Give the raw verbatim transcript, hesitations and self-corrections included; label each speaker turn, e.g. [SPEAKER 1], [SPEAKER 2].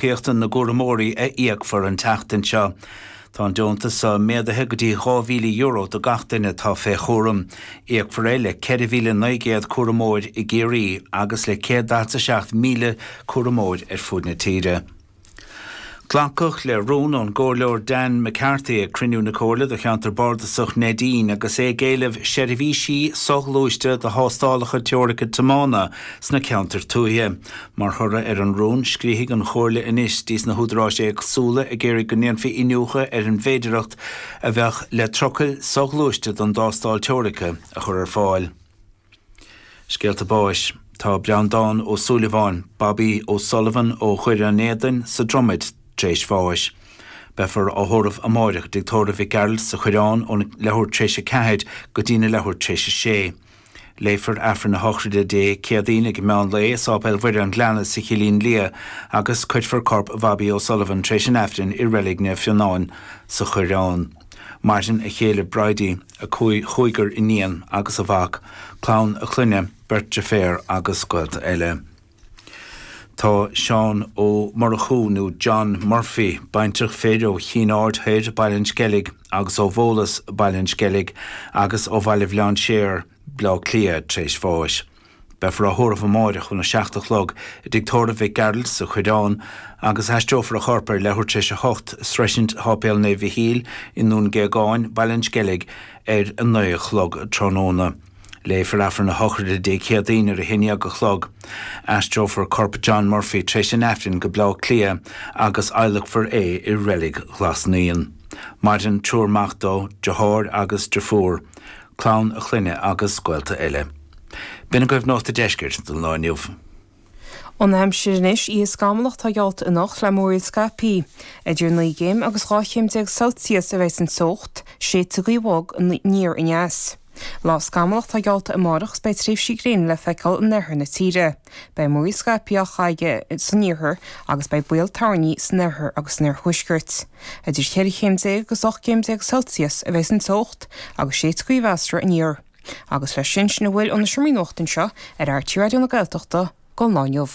[SPEAKER 1] Tacaíochta na gCúramóirí a íocfar an tseachtain seo. Tá an deontas seo méadaithe go dtí dhá mhíle euro do gach duine atá fé chúram. Íocfar é le ceithre mhíle naoi gcéad cúramóir i gCiarraí agus le céad daichead a seacht míle cúramóir ar fud na tíre. Glacadh le rún ón gComhairleoir Dan McCarthy ag cruinniú na Comhairle do cheantar bardasach Neidín agus é ag éileamh seirbhísí soghluaiste do thástálacha teoirice tiomána sna ceantair tuaithe. Mar thoradh ar an rún, scríobfaidh an Chomhairle anois dtí sna húdaráis éagsúla ag iarraidh go ndéanfaí iniúchadh ar an bhféidearthacht a bheadh le trucail soghluaiste don dtástáil teoirice a chur ar fáil. Scéalta báis. Tá Breandán Ó Súilleabháin, Bobby O'Sullivan ó Dhoire an Éadain sa Dromaid tar éis bháis. Beifear á thórramh amáireach i dTigh Tórraimh Mhic Gearailt sa Choireán óna leathuair tar éis a ceathair go dtína leathuair tar éis a sé. Léifear Aifreann na sochraide Dé Céadaoin ag meán lae i Sáipéal Mhuire an Ghleanna sa Chillín Liath agus cuirfear corp Bhobby O'Sullivan tar éis an Aifrinn i Reilig Naomh Fionán sa Choireán. Maireann a chéile Bridie, a chúigear iníon agus a mhac, clann a clainne, beirt deirféar agus gaolta eile. Tá Seán Ó Murchú nó John Murphy, baintreach fir ó Chinn Aird Thoir, Baile an Sceilg, agus ó Bhólas, Baile an Sceilg, agus ó Bhaile Bhlainséir, Bleá Cliath, tar éis bháis. Beifear á thórramh amáireach óna seacht a chlog i dTigh Tórraimh Mhic Gearailt sa Choireán agus aistreofar a chorp ar leathuair tar éis a hocht sroisint Sháipéal Naomh Mhichíl i nDún Géagáin, Baile an Sceilg, ar a naoi a chlog tráthnóna. Léifear Aifreann na sochraide Dé Céadaoin ar a haon déag a chlog. Aistreofar corp John Murphy tar éis an Aifrinn go Bleá Cliath agus adhlacfar é i Reilig Ghlas Naíon. Maireann triúr mac dó, deartháir agus deirfiúr, clann a chlainne agus gaolta eile. B'in agaibh Nuacht an Deiscirt don lá inniu.
[SPEAKER 2] An aimsir anois, oíche scamallach atá geallta anocht le múraíl scaipthe. Idir naoi gcéim agus dhá chéim déag Celsius a bheidh an teocht, séidfidh gaoth bhog aniar aneas. Lá scamallach atá geallta amárach is beidh tréimhsí gréine le feiceáil in oirthear na tíre. Beidh múraíl scaipthe á chaitheamh san iarthar agus beidh baol toirní san oirthear agus san oirthuaisceart. Idir cheithre chéim déag agus ocht gcéim déag Celsius a bheidh an teocht agus séidfidh gaoth mheasartha aniar. Agus leis sin, sin a bhfuil ó na seomraí nuachta anseo ar RTÉ Raidió na Gaeltachta don lá inniu.